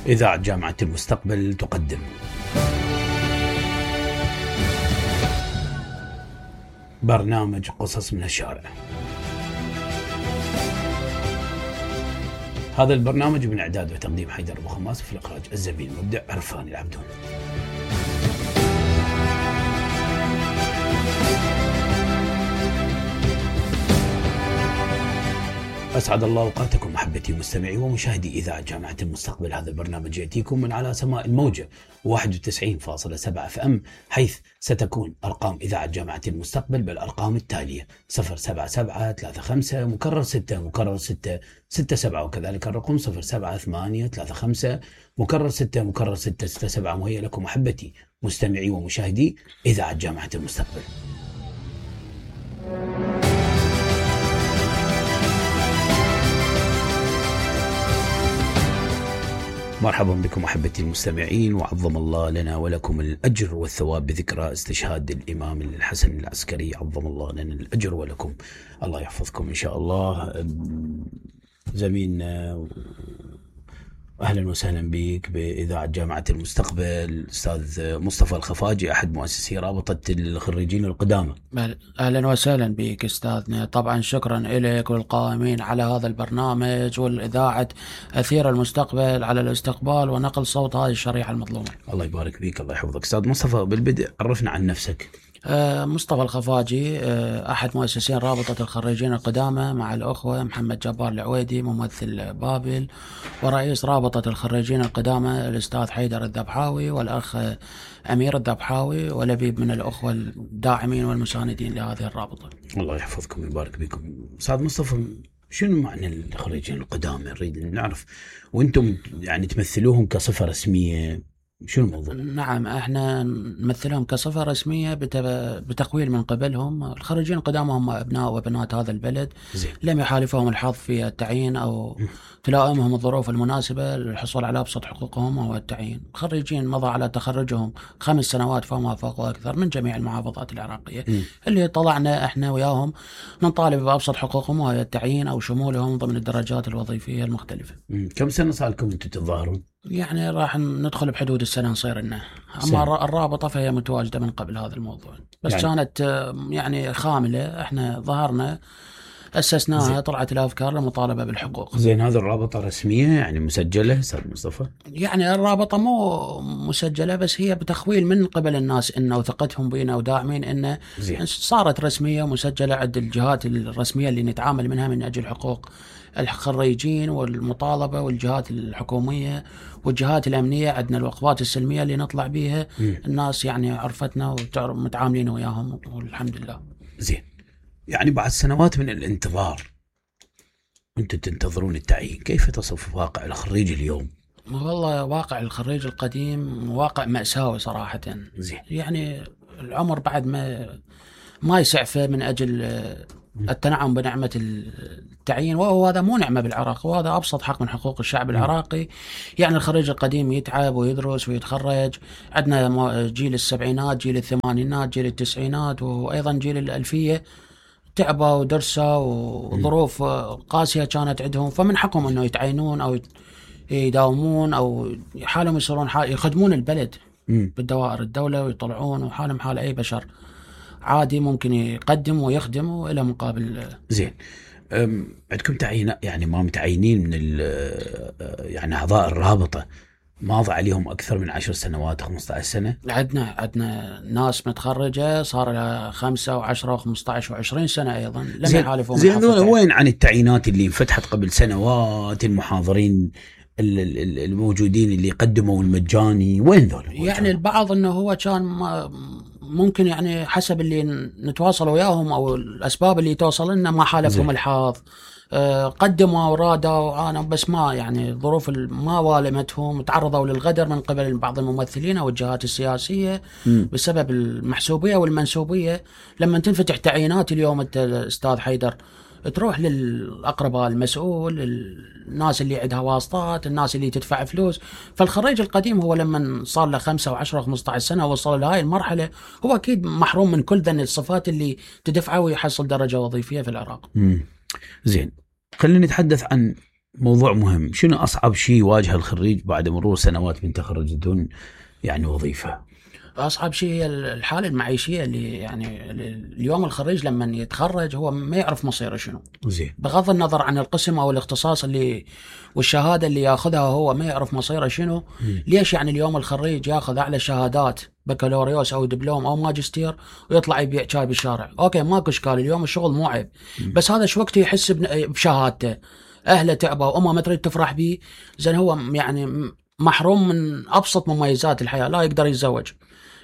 إذاعة جامعة المستقبل تقدم برنامج قصص من الشارع. هذا البرنامج من إعداد وتقديم حيدر أبو خماس، في الإخراج الزميل المبدع عرفان العبدون. أسعد الله أوقاتكم محبتي مستمعي ومشاهدي إذاعة جامعة المستقبل. هذا البرنامج يأتيكم من على سماء الموجة 91.7 FM، حيث ستكون أرقام إذاعة جامعة المستقبل بالأرقام التالية: 07735 مكرر 6 مكرر 6 67، وكذلك الرقم 07835 مكرر 6 مكرر 6 67. وهي لكم محبتي مستمعي ومشاهدي إذاعة جامعة المستقبل. مرحبا بكم أحبتي المستمعين، وعظم الله لنا ولكم الأجر والثواب بذكرى استشهاد الإمام الحسن العسكري. عظم الله لنا الأجر ولكم، الله يحفظكم إن شاء الله. زميلنا أهلا وسهلا بك بإذاعة جامعة المستقبل أستاذ مصطفى الخفاجي، أحد مؤسسي رابطة الخريجين القدامى. أهلا وسهلا بك أستاذنا. طبعا شكرا لك والقائمين على هذا البرنامج والإذاعة أثير المستقبل على الاستقبال ونقل صوت هذه الشريحة المظلومة. الله يبارك فيك، الله يحفظك. أستاذ مصطفى، بالبدء عرفنا عن نفسك. مصطفى الخفاجي، أحد مؤسسين رابطة الخريجين القدامى مع الأخوة محمد جبار العويدي ممثل بابل، ورئيس رابطة الخريجين القدامى الأستاذ حيدر الذبحاوي والأخ أمير الذبحاوي ولبيب من الأخوة الداعمين والمساندين لهذه الرابطة. الله يحفظكم ويبارك بكم. أستاذ مصطفى، شنو معنى الخريجين القدامى؟ نريد نعرف، وأنتم يعني تمثلوهم كصفة رسمية، شو الموضوع؟ نعم، احنا نمثلهم كصفة رسمية بتقويل من قبلهم. الخريجين القدامى هم أبناء وبنات هذا البلد، لم يحالفهم الحظ في التعيين أو تلائمهم الظروف المناسبة للحصول على أبسط حقوقهم وهو التعيين. الخريجين مضى على تخرجهم 5 سنوات فما فوق وأكثر من جميع المحافظات العراقية، اللي طلعنا احنا وياهم نطالب بأبسط حقوقهم وهي التعيين أو شمولهم ضمن الدرجات الوظيفية المختلفة. كم سنة صار لكم أنتم تتظاهرون؟ يعني راح ندخل بحدود السنة نصير لنا. أما الرابطة فهي متواجدة من قبل هذا الموضوع، بس يعني كانت يعني خاملة. احنا ظهرنا أسسناها، طلعت الأفكار للمطالبة بالحقوق. زين، هذه الرابطة رسمية يعني مسجلة أستاذ مصطفى؟ يعني الرابطة مو مسجلة، بس هي بتخويل من قبل الناس إنه وثقتهم بينا وداعمين إنه صارت رسمية ومسجلة عند الجهات الرسمية اللي نتعامل منها من أجل حقوق الخريجين والمطالبة، والجهات الحكومية والجهات الأمنية. عندنا الوقفات السلمية اللي نطلع بيها. الناس يعني عرفتنا ومتعاملين وياهم والحمد لله. زين، يعني بعد سنوات من الانتظار أنتم تنتظرون التعيين، كيف تصف واقع الخريج اليوم؟ والله واقع الخريج القديم واقع مأساوي صراحة. زين. يعني العمر بعد ما يسعفه من أجل التنعم بنعمة التعيين، وهو هذا مو نعمة بالعراق، وهذا أبسط حق من حقوق الشعب العراقي. يعني الخريج القديم يتعب ويدرس ويتخرج. عندنا جيل السبعينات، جيل الثمانينات، جيل التسعينات، وأيضا جيل الألفية تعبوا ودرسوا وظروف قاسية كانت عندهم، فمن حقهم أنه يتعينون أو يداومون أو حالهم يصيرون يخدمون البلد بالدوائر الدولة ويطلعون، وحالهم حال أي بشر عادي ممكن يقدم ويخدم إلى مقابل. زين، عندكم تعيين يعني ما متعينين من يعني أعضاء الرابطة ماضي عليهم أكثر من 10 سنوات 15 سنة؟ عندنا ناس متخرجة صار لها 5 و10 و15 و20 سنة أيضا لم يحالفون. زين، وين عن التعيينات اللي انفتحت قبل سنوات؟ المحاضرين الموجودين اللي قدموا المجاني وين ذول؟ يعني البعض أنه هو كان ممكن يعني حسب اللي نتواصل وياهم أو الأسباب اللي توصل لنا ما حالفهم الحظ، قدموا ورادوا أنا بس ما يعني ظروف ما والمتهم، تعرضوا للغدر من قبل بعض الممثلين أو الجهات السياسية بسبب المحسوبية والمنسوبية. لما تنفتح تعيينات اليوم أنت أستاذ حيدر تروح للأقرباء المسؤول، الناس اللي عندها واسطات، الناس اللي تدفع فلوس. فالخريج القديم هو لما صار له 5 و10 و15 سنة وصل لهاي المرحلة هو أكيد محروم من كل ذن الصفات اللي تدفعه ويحصل درجة وظيفية في العراق. زين، خلينا نتحدث عن موضوع مهم. شنو أصعب شيء يواجه الخريج بعد مرور سنوات من تخرج بدون يعني وظيفة؟ أصعب شيء هي الحالة المعيشية اللي يعني اليوم الخريج لما يتخرج هو ما يعرف مصيره شنو. زين. بغض النظر عن القسم أو الاختصاص اللي والشهادة اللي ياخذها هو ما يعرف مصيره شنو. ليش يعني اليوم الخريج ياخذ أعلى شهادات بكالوريوس أو دبلوم أو ماجستير ويطلع يبيع شاي بالشارع؟ أوكي ماكو إشكال، اليوم الشغل مو عيب، بس هذا شو وقت يحس بشهادته، أهله تعبوا وأمه ما تريد تفرح به، زين هو يعني محروم من أبسط مميزات الحياة، لا يقدر يتزوج،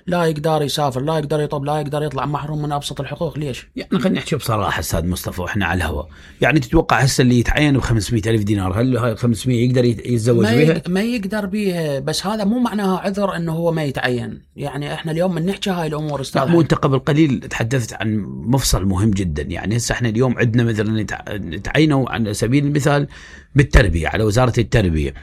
لا يقدر يسافر، لا يقدر يطب، لا يقدر يطلع، محروم من أبسط الحقوق. ليش؟ يعني خلينا نحكي بصراحة أستاذ مصطفى وإحنا على الهواء، يعني تتوقع هسه اللي يتعين ب500,000 دينار هل هاي 500 يقدر يتزوج بها؟ ما يقدر بيها، بس هذا مو معناها عذر إنه هو ما يتعين. يعني إحنا اليوم من نحكي هاي الأمور لا مو أنت قبل قليل تحدثت عن مفصل مهم جدا. يعني هسه إحنا اليوم عندنا مثلا نتعينوا على سبيل المثال بالتربية على وزارة التربية،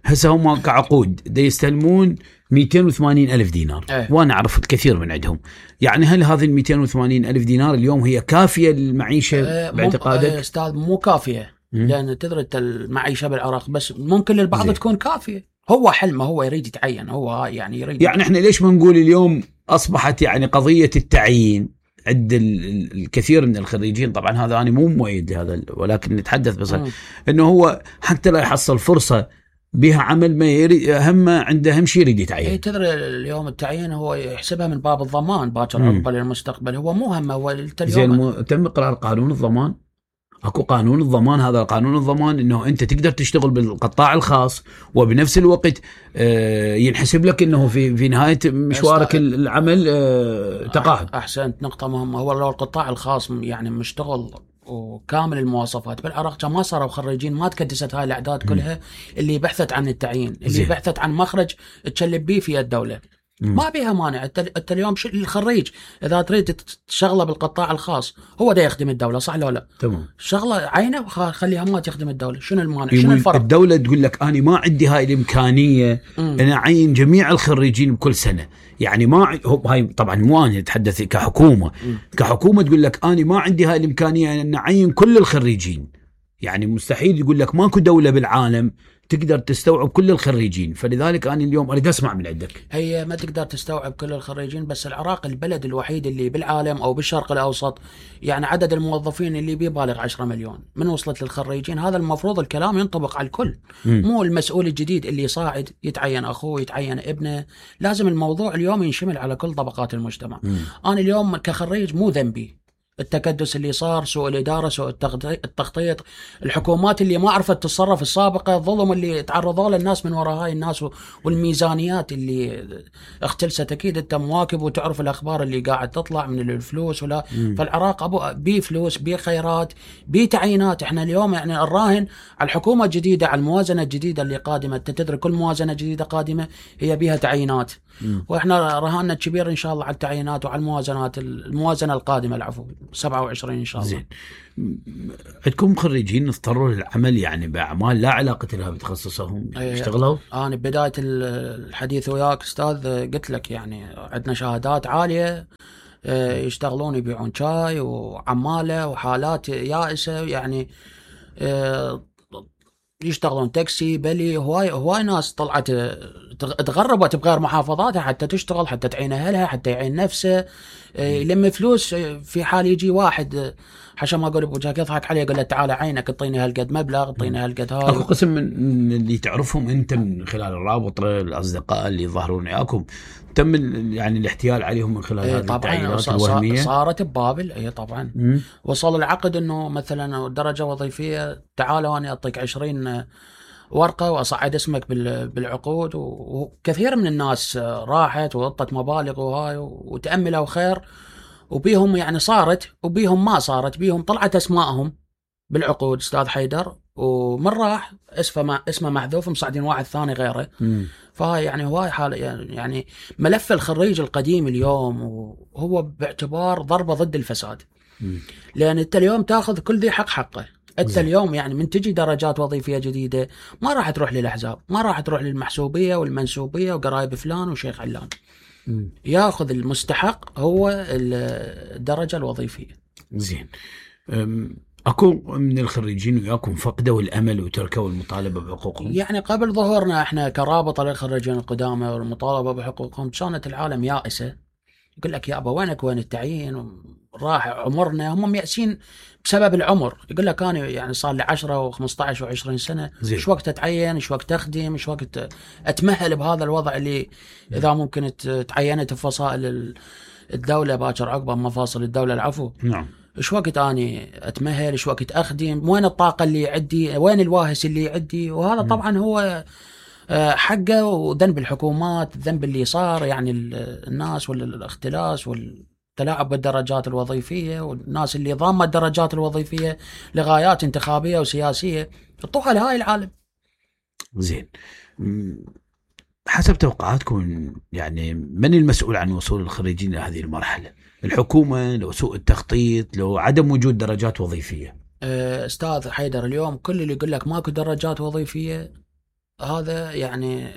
هسه هم كعقود دا يستلمون 280,000 دينار. وأنا أعرف الكثير من عندهم. يعني هل هذه 280,000 دينار اليوم هي كافية للمعيشة باعتقادك؟ أستاذ مو كافية، لأن تدري المعيشة بالعراق بس ممكن للبعض تكون كافية. هو حلمه، هو يريد يتعين، هو يعني يريد. يعني إحنا ليش ما نقول اليوم أصبحت يعني قضية التعيين عند الكثير من الخريجين، طبعا هذا أنا مو مؤيد لهذا ولكن نتحدث بس إنه هو حتى لا يحصل فرصة بها عمل ما يريد، هم عنده أهم شيء يريد يتعين. تدري اليوم التعيين هو يحسبها من باب الضمان باكر عقبة للمستقبل، هو مو هم هو زين. تم قرار قانون الضمان، اكو قانون الضمان. هذا قانون الضمان انه انت تقدر تشتغل بالقطاع الخاص وبنفس الوقت ينحسب لك انه في نهايه مشوارك العمل تقاعد. احسنت، نقطه مهمه. هو لو القطاع الخاص يعني مشتغل وكامل المواصفات بالعراق ما صاروا خريجين، ما تكدست هاي الاعداد كلها اللي بحثت عن التعيين، اللي بحثت عن مخرج تشلب بيه في الدوله. ما بيها مانع. انت اليوم الخريج اذا تريد تشغله بالقطاع الخاص هو دا يخدم الدوله، صح لو لا؟ تمام. شغله عينه وخليها ما تخدم الدوله. شنو المانع؟ شنو الفرق؟ الدوله تقول لك انا ما عندي هاي الامكانيه انا اعين جميع الخريجين بكل سنه. يعني ما هاي طبعا مو انا اتحدث كحكومه. كحكومه تقول لك انا ما عندي هاي الامكانيه ان اعين كل الخريجين. يعني مستحيل يقول لك ماكو دوله بالعالم تقدر تستوعب كل الخريجين. فلذلك أنا اليوم أريد أسمع من عندك. هي ما تقدر تستوعب كل الخريجين، بس العراق البلد الوحيد اللي بالعالم أو بالشرق الأوسط يعني عدد الموظفين اللي بيبالغ 10 مليون. من وصلت للخريجين هذا المفروض الكلام ينطبق على الكل. مو المسؤول الجديد اللي صاعد يتعين أخوه يتعين ابنه، لازم الموضوع اليوم ينشمل على كل طبقات المجتمع. أنا اليوم كخريج مو ذنبي التكدس اللي صار، سوء الإدارة، سوء التخطيط، الحكومات اللي ما عرفت تتصرف السابقة، الظلم اللي تعرضوا له الناس من وراء هاي الناس، والميزانيات اللي اختلست. أكيد أنت مواكب وتعرف الأخبار اللي قاعد تطلع من الفلوس ولا. فالعراق بيه فلوس، بيه خيرات، بيه تعيينات. احنا اليوم يعني الراهن على الحكومة الجديدة، على الموازنة الجديدة اللي قادمة. تدري كل موازنة جديدة قادمة هي بيها تعيينات، واحنا رهاننا كبير ان شاء الله على التعيينات وعلى الموازنة القادمة، العفو 27 ان شاء الله. زين. عندكم خريجين اضطروا للعمل يعني باعمال لا علاقه لها بتخصصهم يشتغلوا؟ انا بدايه الحديث وياك استاذ قلت لك يعني عندنا شهادات عاليه يشتغلون يبيعون شاي وعماله وحالات يائسه، يعني يشتغلون تاكسي بلي. هواي ناس طلعت تغربت بغير محافظاتها حتى تشتغل، حتى تعين اهلها، حتى يعين نفسه، يلم فلوس. في حال يجي واحد حشا ما اقول بوجهك يضحك عليه يقول له تعال عينك اعطيني هالقد مبلغ، اعطيني هالقد هاي. اكو قسم من اللي تعرفهم انت من خلال الرابط الاصدقاء اللي يظهرون وياكم تم يعني الاحتيال عليهم من خلال هذه التعيينات الوهميه؟ صارت ببابل. اي طبعا. وصل العقد انه مثلا درجه وظيفيه، تعالوا انا اعطيك 20 ورقه واصعد اسمك بالعقود. وكثير من الناس راحت وغطت مبالغ وهاي وتاملوا خير، وبيهم يعني صارت وبيهم ما صارت. بيهم طلعت اسمائهم بالعقود استاذ حيدر، ومن راح اسمه محذوف، مصعدين واحد ثاني غيره. فهاي يعني هواي حاله. يعني ملف الخريج القديم اليوم وهو باعتبار ضربه ضد الفساد. لان انت اليوم تاخذ كل ذي حقه. انت اليوم يعني من تجي درجات وظيفيه جديده ما راح تروح للاحزاب، ما راح تروح للمحسوبيه والمنسوبيه وقرايب فلان وشيخ علان. ياخذ المستحق هو الدرجه الوظيفيه. زين. اكو من الخريجين وياكم فقدوا الامل وتركوا المطالبه بحقوقهم؟ يعني قبل ظهورنا احنا كرابطه للخريجين القدامى والمطالبه بحقوقهم كانت العالم يائسه، يقول لك يابا وينك وين التعيين، راح عمرنا، هم يأسين بسبب العمر. يقول لك انا يعني صار لي 10 و15 و20 سنه، ايش وقت اتعين، ايش وقت اخدم، ايش وقت اتمهل بهذا الوضع اللي اذا ممكن تعينت بفصائل الدوله باكر عقبه مفاصل الدوله العفو. نعم. ايش وقت اني اتمهل، ايش وقت اخدم، وين الطاقه اللي عندي، وين الواهس اللي عندي. وهذا طبعا هو حقه وذنب الحكومات، الذنب اللي صار يعني الناس والاختلاس والتلاعب بالدرجات الوظيفيه، والناس اللي ضامه الدرجات الوظيفيه لغايات انتخابيه وسياسيه يحطوها لهاي العالم. زين، حسب توقعاتكم يعني من المسؤول عن وصول الخريجين إلى هذه المرحلة؟ الحكومة، لو سوء التخطيط، لو عدم وجود درجات وظيفية؟ أستاذ حيدر، اليوم كل اللي يقول لك ماكو درجات وظيفية هذا يعني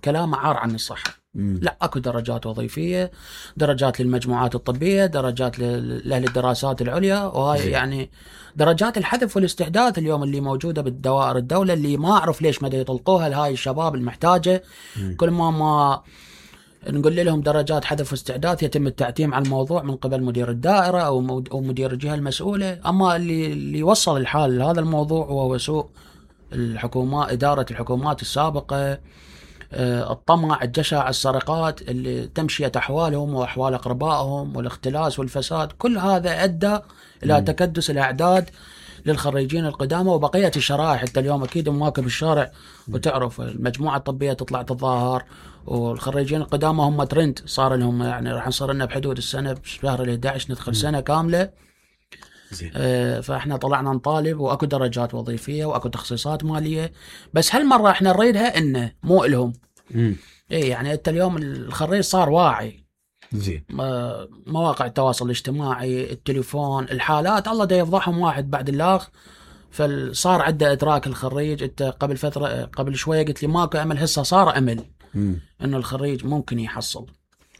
كلام عار عن الصحة. لا، اكو درجات وظيفية، درجات للمجموعات الطبية، درجات لأهل الدراسات العليا، وهاي يعني درجات الحذف والاستحداث اليوم اللي موجودة بالدوائر الدولة، اللي ما أعرف ليش ما يطلقوها لهاي الشباب المحتاجة. كل ما نقول لهم درجات حذف واستعداد يتم التعتيم على الموضوع من قبل مدير الدائرة أو مدير الجهة المسؤولة. أما اللي وصل الحال لهذا الموضوع وهو سوء الحكومات، إدارة الحكومات السابقة، الطمع، الجشع، السرقات اللي تمشيت أحوالهم وأحوال أقربائهم، والاختلاس والفساد. كل هذا أدى إلى تكدس الأعداد للخريجين القدامى وبقية الشرائح. حتى اليوم أكيد مواكب الشارع وتعرف المجموعة الطبية تطلع تتظاهر، والخريجين القدامى هم ترند صار لهم، يعني راح نصير لنا بحدود السنة بشهر 11 ندخل سنة كاملة. فاحنا طلعنا نطالب، واكو درجات وظيفيه واكو تخصيصات ماليه، بس هالمره احنا نريدها انه مو الهم. اي يعني انت اليوم الخريج صار واعي. زين، مواقع التواصل الاجتماعي، التليفون، الحالات الله دا يفضحهم واحد بعد الاخ. فصار عنده ادراك الخريج. انت قبل فتره، قبل شويه قلت لي ماكو امل، هسه صار امل انه الخريج ممكن يحصل.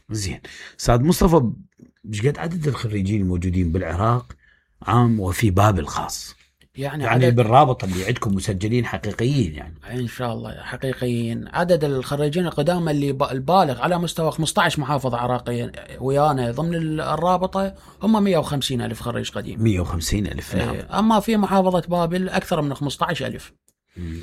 زين، استاذ مصطفى، ايش قد عدد الخريجين الموجودين بالعراق عام وفي بابل خاص؟ يعني بالرابطة اللي عندكم مسجلين حقيقيين يعني؟ إن شاء الله حقيقيين. عدد الخريجين القدامى اللي البالغ على مستوى 15 محافظة عراقية ويانا ضمن الرابطة هم 150 ألف خريج قديم. 150 ألف، نعم. أما في محافظة بابل أكثر من 15 ألف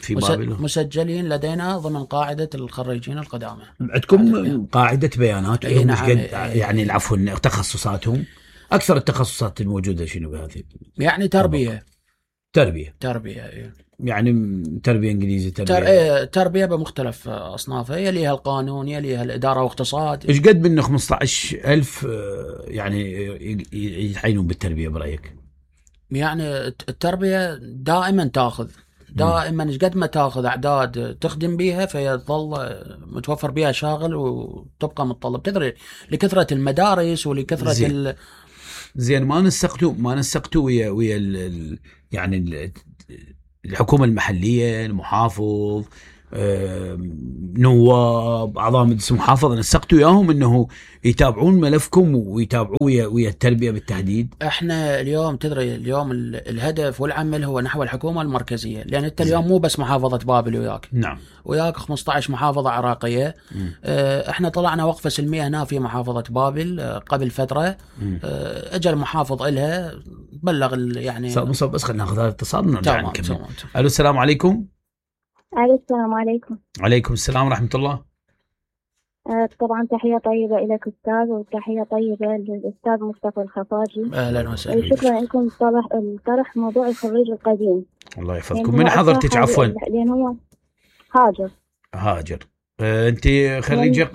في بابل مسجلين لدينا ضمن قاعدة الخريجين القدامى. عندكم قاعدة بيانات لهم؟ نعم. يعني العفو تخصصاتهم، أكثر التخصصات الموجودة شنو بهذه؟ يعني تربية. يعني تربية إنجليزي، تربية بمختلف أصنافها، يليها القانون، يليها الإدارة واقتصاد. إيش قد منه 15,000 يعني يتعينون بالتربية برأيك؟ يعني التربية دائما تأخذ، دائما إيش قد ما تأخذ أعداد تخدم بيها فيظل متوفر بيها شاغل وتبقى متطلب. تدري لكثرة المدارس ولكثرة زين ما نسقتوا ويا يعني الحكومة المحلية، المحافظ، نواب، أعضاء مجلس المحافظة، نسقتوا وياهم أنه يتابعون ملفكم ويتابعوا ويا التربية بالتحديد؟ احنا اليوم تدري اليوم الهدف والعمل هو نحو الحكومة المركزية، لأن انت اليوم مو بس محافظة بابل وياك، نعم، وياك 15 محافظة عراقية. احنا طلعنا وقفة سلمية هنا في محافظة بابل قبل فترة. اجى المحافظ إلها بلغ يعني بس خلينا ناخذ هذا الاتصال ونرجع نكمل. الو، السلام عليكم. السلام عليكم. وعليكم السلام ورحمة الله. طبعا تحية طيبة لك أستاذ، وتحية طيبة للأستاذ مصطفى الخفاجي. أهلا وسهلا. شكرا لكم طرح موضوع الخريج القديم. الله يفضلكم. من حضرتك عفوا؟ لأن هو هاجر. أنت خريجة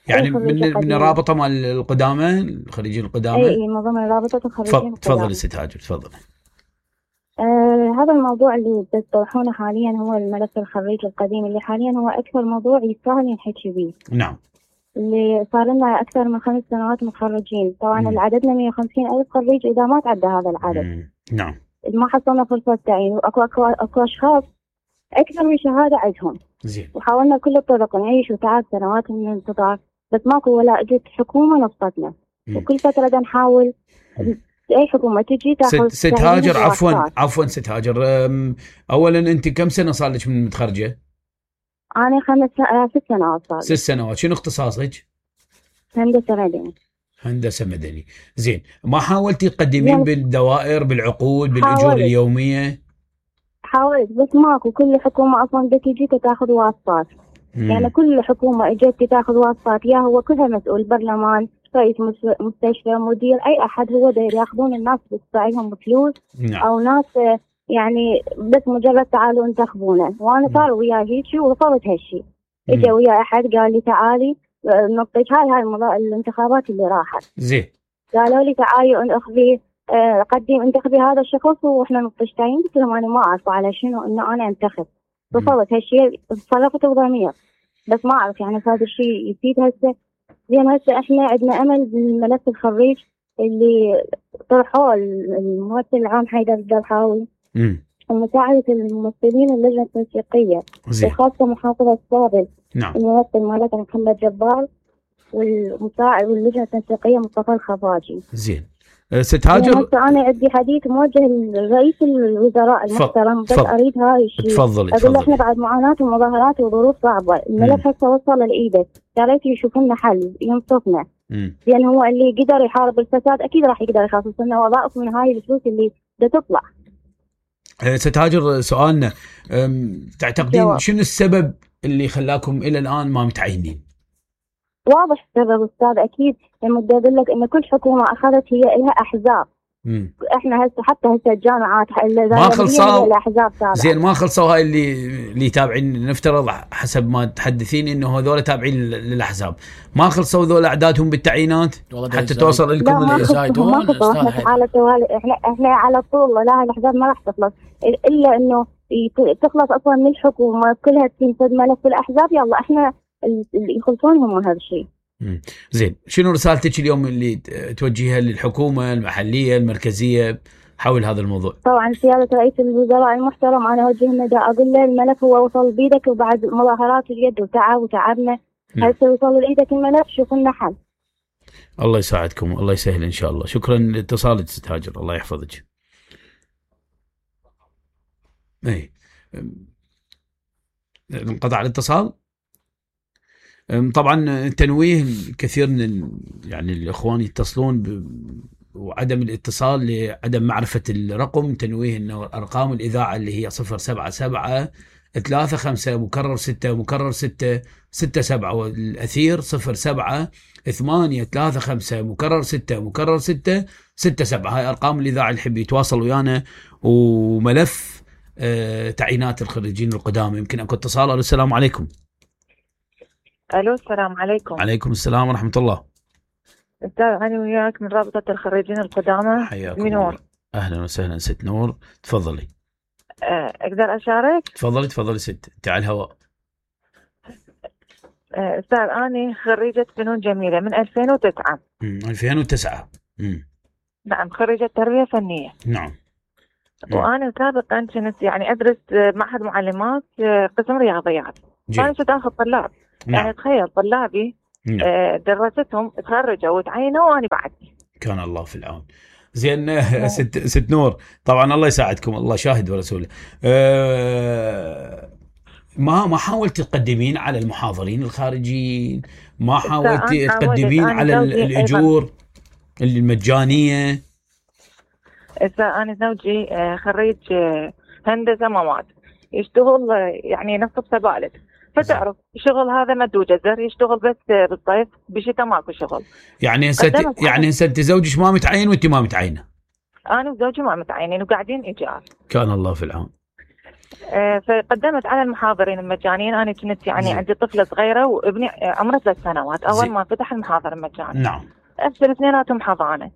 يعني من الرابطة مال القدامى، الخريجين القدامى؟ أي من ضمن رابطة الخريجين القدامى. تفضل ست هاجر، تفضل. هذا الموضوع اللي تطرحونه حاليا هو الملف الخريج القديم، اللي حاليا هو أكثر موضوع يستاهل نحكي به. نعم. اللي صار لنا أكثر من 5 سنوات متخرجين. طبعا عددنا 150 ألف خريج إذا ما تعدى هذا العدد. نعم. ما حصلنا فرصة تعيين، وأكو أشخاص أكثر من شهادة عندهم. زين. وحاولنا كل الطرق نعيش وتعب سنوات من الانتظار، بس ماكو ولا أجت حكومة نصفتنا. وكل فترة نحاول اي حكومه تجي تاخذ. ست هاجر، عفوا ست هاجر، اولا انت كم سنه صار لك من متخرجه؟ انا 6 سنوات صار. 6 سنوات. شنو اختصاصك؟ هندسه مدني. هندسه مدني. زين، ما حاولتي تقدمين بالدوائر، بالعقود، بالاجور اليوميه؟ حاولت بس ماكو. كل حكومه اصلا بدك تجيك تاخذ واسطات. يعني كل حكومه اجت تاخذ واسطات، يا هو كلها مسؤول، برلمان، رئيس مستشفى، مدير، اي احد هو داير ياخذون الناس بتدفعهم فلوس. نعم. او ناس يعني بس مجرد تعالوا انتخبونا. وانا صار وياي هيك ورفضت هالشيء. اجى وياي احد قال لي تعالي نطيك هاي الانتخابات اللي راحت. زين. قالوا لي تعالي اخذي انتخبي هذا الشخص واحنا نطيش تعيين. قلت لهم انا ما اعرف على شنو انه انا انتخب. رفضت هالشيء، تصرفت بضمير، بس ما اعرف يعني هذا الشيء يفيد هسه. زين هسه احنا عندنا امل بالملف الخريج اللي طرحوه الممثل العام حيدر الدرحاوي، ومساعدة الممثلين اللجنة التنسيقية وخاصة محافظة السابق. نعم. الممثل مالتنا محمد جبار، والمساعد واللجنة التنسيقية مصطفى الخفاجي. زين. ست هاجر، أنا عندي حديث موجه لرئيس الوزراء المحترم، بس أريد هاي الشيء. تفضلي. أقول له إحنا بعد معاناة ومظاهرات وظروف صعبة، الملف هسه وصل لإيده، يا ريت يشوف لنا حل ينصفنا. لأن هو اللي قدر يحارب الفساد أكيد راح يقدر يخصص لنا وظائف من هاي الفلوس اللي بدها تطلع. ست هاجر، سؤالنا تعتقدين شنو السبب اللي خلاكم إلى الآن ما متعينين؟ واضح السبب أستاذ، أكيد لما بدي أقول لك إن كل حكومة أخذت هي لها أحزاب. إحنا هسه حتى الجامعات ما خلصوا الأحزاب تابعة. زين، ما خلصوا هاي اللي تابعين، نفترض حسب ما تحدثين إنه هذول تابعين للأحزاب، ما خلصوا ذول أعدادهم بالتعيينات حتى توصل لكم الزايدون. إحنا على طول، لا الأحزاب ما راح تخلص إلا إنه تخلص أصلا من الحكومة كلها تنفذ ملف الأحزاب. يلا إحنا اللي يخلصون هم هذا الشيء. زين، شنو رسالتك اليوم اللي توجهها للحكومة المحلية المركزية حول هذا الموضوع؟ طبعا سيادة رئيس الوزراء المحترم أنا أوجه نداء، أقول له الملف هو وصل بيدك، وبعد مظاهرات اليد وتعبنا هسه وصل لإيدك الملف، شوف لنا حل. الله يساعدكم، الله يسهل إن شاء الله. شكرا لاتصالك ست هاجر، الله يحفظك. اي انقطع الاتصال. طبعا تنويه كثير من يعني الاخوان يتصلون وعدم الاتصال لعدم معرفة الرقم. تنويه انه ارقام الاذاعة اللي هي 077 35 مكرر 6 مكرر 6 67، والاثير 07 8 35 مكرر 6 مكرر 6 67. هاي ارقام الاذاعة اللي يحب يتواصل ويانا. وملف تعيينات الخريجين القدامى. يمكن اكو اتصال. السلام عليكم. الو السلام عليكم. عليكم السلام ورحمة الله. استاذ انا وياك من رابطة الخريجين القدامى. حياكم نور. اهلا وسهلا ست نور، تفضلي. اقدر اشارك؟ تفضلي ست، انت على الهواء. استاذ انا خريجة فنون جميلة من 2009. 2009. نعم، خريجة تربية فنية. نعم. وانا سابقا كنت يعني ادرس معهد معلمات قسم رياضيات. فانا كنت اخذ طلاب. نعم. يعني تخيل طلابي درستهم تخرجوا وتعينوا وانا بعد. كان الله في العون. زين ست نور، طبعا الله يساعدكم، الله شاهد ورسوله. ما حاولت تقدمين على المحاضرين الخارجيين؟ ما حاولت تقدمين على الأجور المجانية؟ أنا زوجي خريج هندسة مواد، يشتغل يعني نصب سبالة، فتعرف الشغل هذا مدو جزر، يشتغل بس بالصيف، بشتاء ماكو شغل. يعني انت زوجك ما متعين وانت ما متعينه؟ انا وزوجي ما متعينين وقاعدين ايجار. كان الله في العون. فقدمت على المحاضرين المجانيين. انا كنت يعني عندي طفله صغيره وابني عمره 3 سنوات اول ما فتح المحاضر المجاني. نعم. افصل اثنيناتهم حضانه.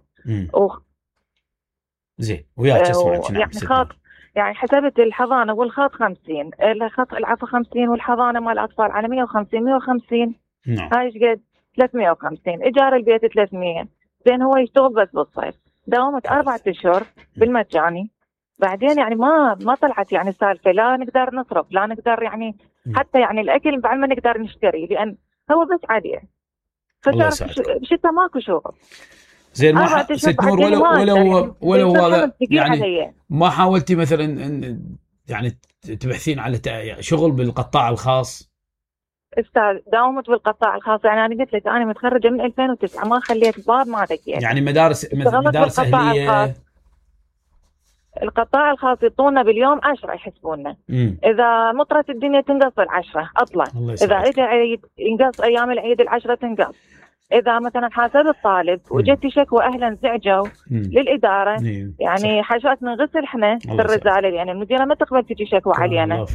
زين، وياك اسمعك. نعم. يعني حسبت الحضانه والخط 50، الخط العفو 50، والحضانه مال الاطفال على 150. نعم. هاي ايش قد؟ 350. ايجار البيت 300. زين هو يشتغل بس بالصيف. داومت 4 أشهر بالمجاني. بعدين يعني ما طلعت يعني سالفه، لا نقدر نصرف، لا نقدر يعني حتى يعني الاكل بعد ما نقدر نشتري، لان هو بس عليه. فتعرف بشتى ماكو شغل. زين ما 4 أشهر ست نور بعدين ما أقدر ولو يعني هذا ثقيل يعني علي. ما حاولتي مثلا يعني تبحثين على شغل بالقطاع الخاص؟ استاذ داومت بالقطاع الخاص، يعني انا قلت لك انا متخرجه من 2009 ما خليت باب ما دقيت. يعني مدارس اهليه. القطاع الخاص يعطونا باليوم 10 يحسبونا. اذا مطرت الدنيا تنقص 10 اطلع، اذا اجى عيد ينقص ايام العيد 10 تنقص. اذا مثلا حاسب الطالب وجت شكوى اهلا زعجوا للاداره يعني حاجات نغسل احنا بالرساله، يعني المديره ما تقبل تجي شكوى علينا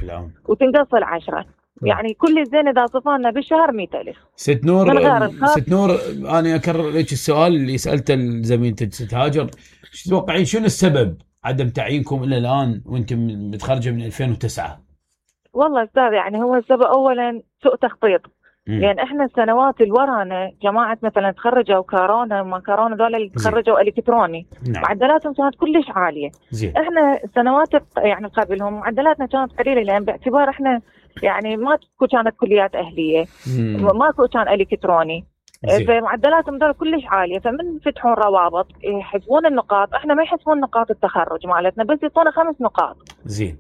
وتنقص 10. يعني كل زين اذا صفرنا بالشهر 100,000. ست نور انا اكرر لك السؤال اللي سالته لزميلتك ست هاجر، ايش تتوقعين شنو السبب عدم تعيينكم الى الان وانتم متخرجه من 2009؟ والله استاذ يعني هو السبب اولا سوء تخطيط. لان احنا السنوات اللي ورانا جماعه مثلا تخرجوا كورونا وما كورونا ذول اللي تخرجوا الكتروني معدلاتهم كانت كلش عاليه. احنا السنوات يعني قبلهم معدلاتنا كانت قليله، لان باعتبار احنا يعني ماكو كانت كليات اهليه، ماكو كان الكتروني، فمعدلاتهم ذول كلش عاليه. فمن فتحون روابط يحسبون النقاط، احنا ما يحسبون نقاط التخرج مالتنا، بس يعطونا 5 نقاط.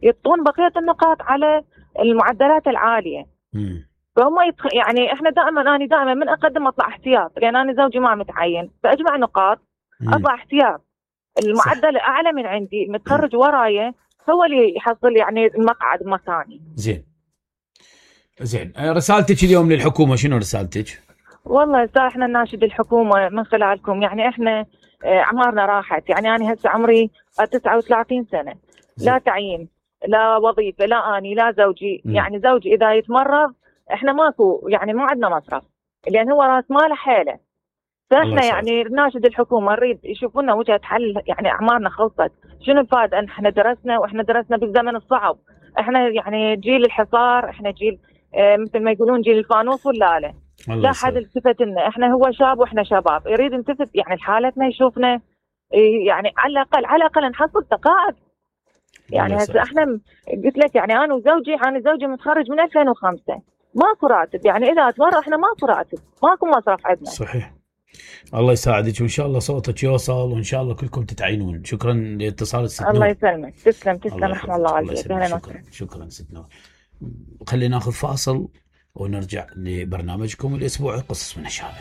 يعطون بقيه النقاط على المعدلات العاليه. فهم يعني احنا انا دائما من اقدم اطلع احتياط، لان انا زوجي ما متعين، فاجمع نقاط اطلع احتياط. المعدل الاعلى من عندي متخرج ورايا هو اللي يحصل يعني المقعد مكاني. زين رسالتك اليوم للحكومه شنو رسالتك؟ والله احنا نناشد الحكومه من خلالكم، يعني احنا اعمارنا راحت، يعني انا هسه عمري 39 سنه، لا تعيين لا وظيفه لا اني لا زوجي. يعني زوجي اذا يتمرض احنا ماكو يعني ما عندنا مصرف، لان هو راس ماله حيله. فاحنا يعني نناشد الحكومه نريد يشوفوا لنا وجهه حل، يعني اعمارنا خلصت، شنو الفائده ان احنا درسنا بالزمن الصعب. احنا يعني جيل الحصار، احنا جيل مثل ما يقولون جيل الفانوس ولا لا حد التفت لنا. احنا هو شاب واحنا شباب، يريد نلتفت يعني لحالتنا يشوفنا، يعني على الاقل نحصل تقاعد. يعني هسه احنا قلت لك يعني انا زوجي متخرج من 2005 ماكو راتب، يعني اذا اتمرض احنا ماكو راتب، ماكو مصرف عندنا. صحيح. الله يساعدك وان شاء الله صوتك يوصل وان شاء الله كلكم تتعينون. شكرا لاتصال الست نور. الله يسلمك. تسلم رحم الله عليك. شكرا ست نور. خلينا ناخذ فاصل ونرجع لبرنامجكم الاسبوعي قصص من الشارع.